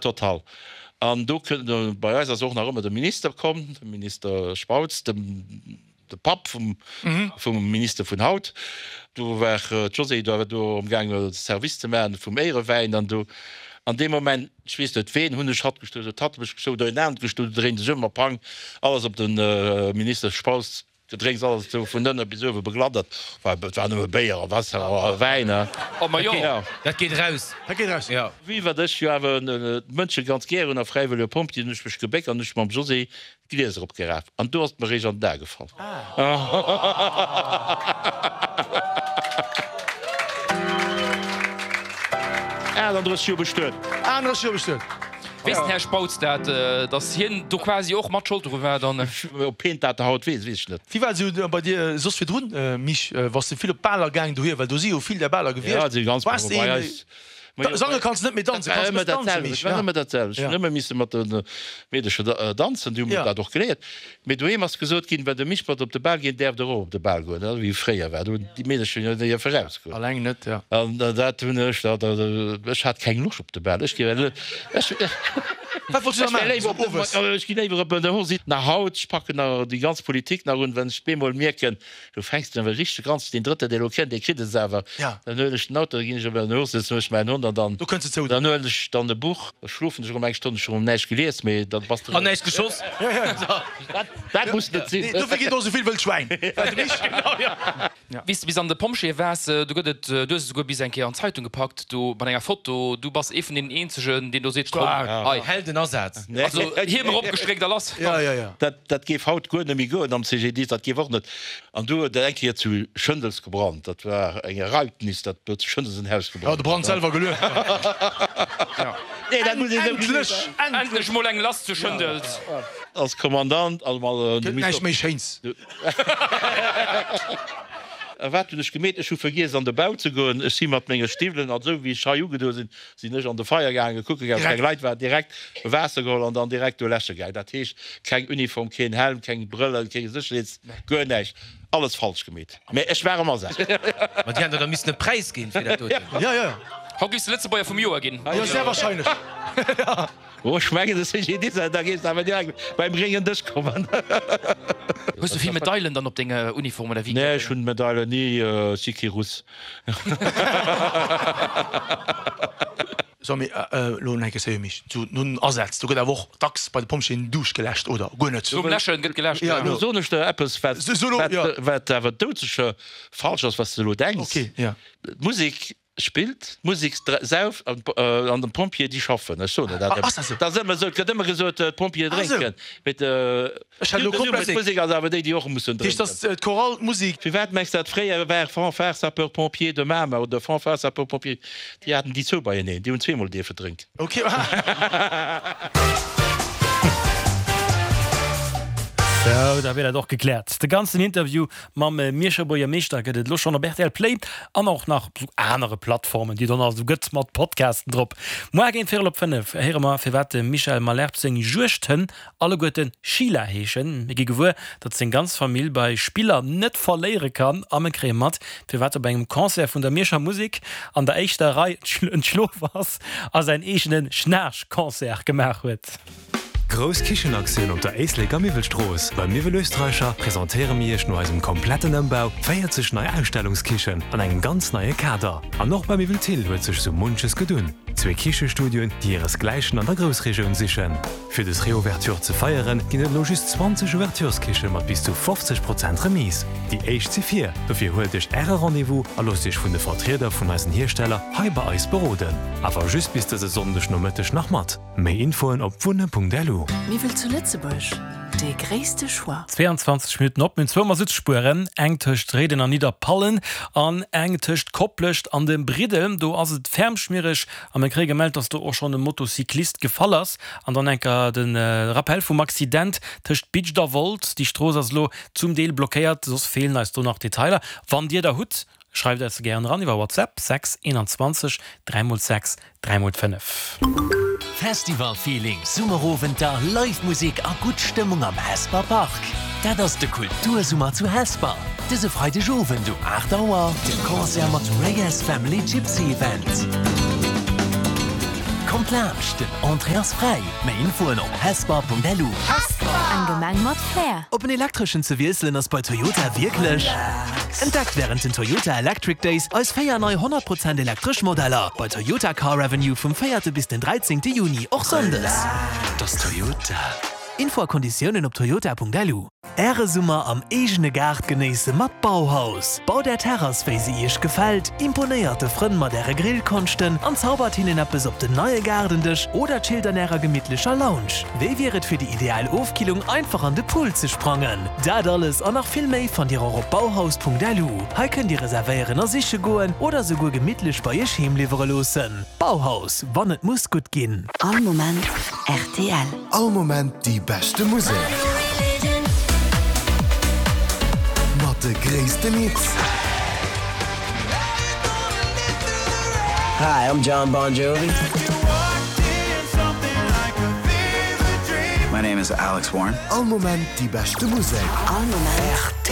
total. An do kënnt, bei eis ass och nach ëmmer de Minister komm, de Minister Spautz, de de Papp vum vum Minister vun haut. Do war d'Josée do do amgaange Service ze maachen vum Éierewäin an do an deem Moment, ech weess net ween, hunn ech hatt gestuer, huet hatt mech gestuer oder een anert gestuer, du dréint sech ëm a pang, alles op de Minister Spautz. Du drénks alles esou vun ënne bis uewe begladdert. War, et war nëmme Béier a Waasser a Wäin, hein. Oh ma jo, dat geet eraus. Dat geet eraus, jo. Wéi wat ech jo awer d'Mënsche ganz gär hunn a fräiwëllege Pompjee, hunn ech mech gebéckt an ech mam José d'Glieser opgeraf an do ass et mer eréischt an den A gefall. 38 Joer bestuet. 38 Joer bestuet. Weess den Här Spautz dat, datt hien do quasi och mat Schold dru war dann? Ob hien dat haut weess, weess ech net. Wéi war et esou bei dir soss virdrun, Mich? Waars de vill op d'Baler gaang dohier? Well do si jo vill där Baler gewiescht. Ja, si ganz Waars de bei een, eis. Sange kanns de net méi danzen, kanns de danzen, Mich? Et war ëmmer dat selwecht. Ech hunn ëmmer misse mat de Meedercher danzen, déi hu mir dat och geléiert. Mee doheem ass gesot ginn, Well de Mich mat op de Bal geet, däerf der och op de Bal goen, wéi et fréier war. Do hunn déi Meedercher jo déi erausgoen. Alleng net, jo. An dat hunn ech da, ech hat keng Loscht op de Bal. Ech gi ech, Wat wollts du da maachen esou owes? Ech ginn léiwer op de Hosi. Nach haut, ech packen nach déi ganz Politik nach un, wenn ech bemol mierken, Du fänks den awer richteg ganz, deen drëtte dee lo kënnt, dee kritt es awer. Dann huelen ech den Auto, da ginn ech op en Hof, setzen ech mäin Hond an dann, Do kënns de zou. dann huelen ech dann e Buch, da schlofen ech erëm eng Stonn, ech hu erëm näischt gelies, mee dann bass de An näischt geschoss. Dat, dat muss net sinn. Nee, dofir ginn och esou vill wëll Schwäin, well de Mich. Genau, jo. Wéi s de bis an de Pompjeeë waars, do gëtt et, du hues et esouguer bis eng Kéier an d'Zeitung gepackt, do mat enger Foto, du bass ee vun deenen eenzegen, deen do seet, komm, hei. Heldenasaz. Also Hiem eropgestréckt a lass. Ja, ja, ja. Dat, dat géif haut guer net méi goen am CGDIS, dat géif och net. An du huet et eng Kéier zu Schëndels gebrannt, dat war eng Ereignis, dat huet zu Schëndels en Haus gebrannt. Ja, de Brand selwer gelueft. Ja. Nee, dat muss een esou gesinn. Endlech, endlech mol eng lass zu Schëndels. Als Kommandant, also mal. Gëtt näischt méi Schéins. A wat hunn ech gemeet? Ech hu vergiess an de Bau ze goen. Ech si mat menge Stiwwelen, an esou wéi ech hei ugedoe sinn, Sinn ech an de Feier gaangen, kucke gaangen, ob keng Leit waren, direkt Waasser geholl an dann direkt do läsche gaangen. Dat heescht, keng Uniform, keen Helm, keng Brëllen, keng Sécherheets-, guer näischt. Alles falsch gemeet. Mä ech war am Asaz. Ma déi hätten der da missen e Präis ginn fir dat doten. Jo, jo. Haut giffs de Lëtzebuerger vum Joer ginn. Jo, sehr wahrscheinlech. Oh, ech mengen, de CGDIS, da géifs de awer direkt beim gréngen Dësch kommen. Hues du vill Medailen dann op denger Uniform oder wéi? Nee, ech hunn Medailen ni, ech si kee Russ. So, mee elo nach eng Kéier, Mich, zu nun Asätz, do gëtt awer och dacks bei de Pompjeeën Duuscht geläscht, oder guer net? Nom Läschen gëtt geläscht, jo. Elo soen ech der eppes, wat, wat awer doudsécher falsch ass, wat s de elo denks. Okay, jo. D'Musek Spillt d'Musek sauft an den Pompjeeë déi schaffen. Ech soen der dat ëmmer. Dat ass ëmmer esou. Et gëtt ëmmer gesot, d'Pompjeeë drénken. Mee d'Musek ass awer déi, déi och mussen drénken. D'Chorale, d'Musek. Firwat mengs de dat fréier war Fanfare Sapeurs-Pompiers de Mamer oder Fanfare Sapeurs-Pompiers, déi haten déi zwou beieneen, déi hunn zweemol dierfe drénken. Sou, da wier dat och gekläert. De ganzen Interview Mam Mierscher Buergermeeschter gëtt et elo schonn op rtl Play an och nach op sou anere Plattformen, déi et och nach esou gëtt, mat Podcasten drop. Moar géint véierel op 5 héiere mer, firwat dem Michel Malherbe seng Juegdhënn alleguerte Sheila heeschen. Mir gi gewuer, datt seng ganz Famill bei Spiller net verléiere kann a mir kréie mat, firwat op engem Concert vun der Mierscher Musek an der éischter Rei entschlof ass a säin eegene Schnaarch-Concert gemaach huet. Grouss Kichenaktioun op der Éisleker Miwwelstrooss. Beim Miwwel Österreicher presentéiere mir Iech no eisem kompletten Ëmbau 40 nei Ausstellungskichen an engem ganz neie Kader. An och bei Miwwel Thill huet sech sou munches gedunn. Zwee Kichestudioen, déi hiresgläichen an der Groussregioun sichen. Fir des Reouverture ze feieren, ginn et elo just 20 Ouvertureskiche mat bis zu 50 Prozent Remise. Déi éischt si vir, dofir huelt Iech Äre Rendez-vous a loosst Iech vun de Vertrieder vun eisen Hiersteller hei bei eis beroden. Awer just bis dëse Sonndeg Nomëtteg nach mat. Méi Infoen op wunne.lu. Miwwel zu Lëtzebuerg, dee gréisste Choix. 22 Minutten op. Mir hunn zwou Masuttspueren, eng tëscht Réiden an Nidderpallen an eng tëscht Koplescht an dem Briddel. Do ass et ferm schmiereg a mir kréie gemellt, dass do och schonn e Motocyclist gefall ass. An dann enker de Rappel vum Accident tëscht Bidscht a Wolz. Déi Strooss ass elo zum Deel blockéiert, soss feelen eis do nach Detailer. Wann Dir der hutt, Schreift eis se gären eran iwwer WhatsApp 6 21 3 x 6 3 x 5. Festival-Feeling, Summerowenter, Live Musek a gutt Stëmmung am Hesper Park. Dat ass de Kultursummer zu Hesper. Dëse Freideg Owend um 8 Auer de Concert mat Reyes Family Gypsy Event. Kommt. Kommt laanscht, den Entrée ass fräi. Méi Infoen op hesper.lu. Eng Gemeng mat Flair. Op en elektreschen ze wiesselen ass bei Toyota wierklech. Entdeckt wärend den Toyota Electric Days eis 4 nei 100 Prozent elektresch Modeller bei Toyota Car Avenue vum 4 bis den 13 Juni, och Sonndes. Dass Toyota. Info a Konditiounen op toyota.lu. Äre Summer am eegene Gaart genéisse mat Bauhaus. Baut Är Terrass wéi se Iech gefält, imponéiert de Frënn mat Äre Grillkonschten an zaubert hinnen eppes op den neie Gaardendësch oder chillt an Ärer gemittlecher Lounge. Wéi wier et fir déi ideal Ofkillung einfach an de Pool ze sprangen? Dat alles an nach vill méi fannt Dir och op bauhaus.lu. Hei kënnt Dir reservéieren a siche goen oder souguer gemittlech bei Iech heem liwwere loossen. Bauhaus, wann et muss gutt ginn. All Moment rtl. All Moment déi beschte Musek. Mat de gréissten Hits. Hi, I'm Jon Bon Jovi. My name is Alex Warren. All Moment déi beschte Musek. All Moment.